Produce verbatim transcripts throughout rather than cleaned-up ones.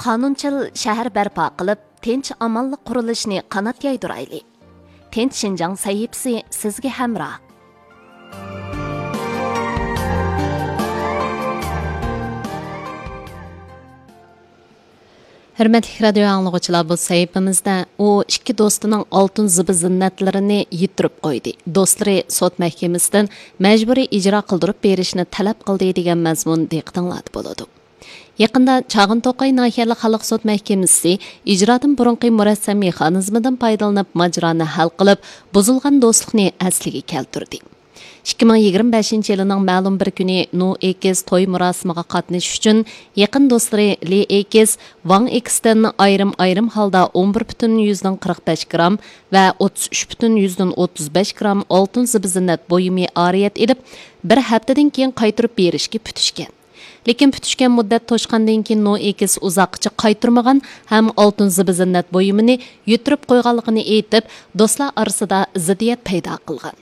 قانۇنچىل شەھەر بەرپا قىلىپ، تىنچ-ئامانلىق قۇرۇلۇشىنى قانات يايدۇرايلى. تىنچ شىنجاڭ سەھىپىسى سىزگە ھەمراھ. ھۆرمەتلىك رادىيو ئاڭلىغۇچىلار، بۇ سەھىپىمىزدە ئۇ ئىككى دوستىنىڭ ئالتۇن زىبۇ زىننەتلىرىنى يىتتۈرۈپ قويدى، دوستلىرى سوت مەھكىمىسىدىن مەجبۇرىي ئىجرا قىلدۇرۇپ بېرىشنى تەلەپ قىلدى دېگەن مەزمۇن دىققىتىڭلاردا بولىدۇ. يېقىندا چاغان توقاي ناھىيەلىك خەلق سوت مەھكىمىسى ئىجرادىن بۇرۇنقى مۇرەسسە مېخانىزمىدىن پايدىلىنىپ ماجىرانى ھەل قىلىپ، بۇزۇلغان دوستلۇقنى ئەسلىگە كەلتۈردى. ئىككى مىڭ يىگىرمە بەشىنچى يىلىنىڭ مەلۇم بىر كۈنى نو ئېكس توي مۇراسىمىغا قاتنىشىش ئۈچۈن يېقىن دوستلىرى لى ئېكس، ۋاڭ ئېكستىن ئايرىم-ئايرىم ھالدا ئون بىر پۈتۈن يۈزدىن قىرىق بەش گرام ۋە ئوتتۇز ئۈچ پۈتۈن يۈزدىن ئوتتۇز بەش گرام ئالتۇن زىبۇ زىننەت بۇيۇمى ئارىيەت ئېلىپ، بىر ھەپتىدىن كېيىن قايتۇرۇپ بېرىشكە پۈتۈشكەن. لېكىن پۈتۈشكەن مۇددەت توشقاندىن كېيىن نو ئېكس ئۇزاققىچە قايتۇرمىغان ھەم ئالتۇن زىبۇ زىننەت بۇيۇمىنى يىتتۈرۈپ قويغانلىقىنى ئېيتىپ، دوستلار ئارىسىدا زىددىيەت پەيدا قىلغان.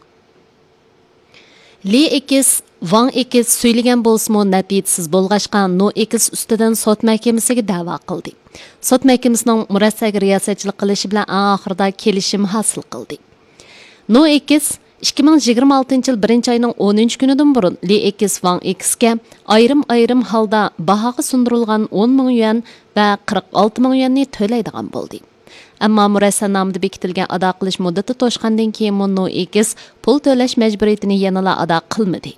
لى ئېكس ۋاڭ ئېكس سۈيلىگەن بولسىمۇ، نەتىجىسىز بولغاچقا، نو ئېكس ئۈستىدىن سوت مەھكىمىسىگە دەۋا قىلدى. سوت مەھكىمىسىنىڭ مۇرەسسەگە رىياسەتچىلىك قىلىشى بىلەن ئەڭ ئاخىرىدا كېلىشىم ھاسىل قىلدى. نو ئېكس ئىككى مىڭ يىگىرمە ئالتىنچى يىل بىرىنچى ئاينىڭ ئونىنچى كۈنىدىن بۇرۇن لى ئېكس ۋاڭ ئېكسكە ئايرىم-ئايرىم ھالدا باھاغا سۇندۇرۇلغان ئون مىڭ يۈەن ۋە قىرىق ئالتە مىڭ يۈەننى تۆلەيدىغان بولدى. ئەمما مۇرەسسەنامىدە بېكىتىلگەن ئادا قىلىش مۇددىتى توشقاندىن كېيىنمۇ نو ئېكس پۇل تۆلەش مەجبۇرىيىتىنى يەنىلا ئادا قىلمىدى.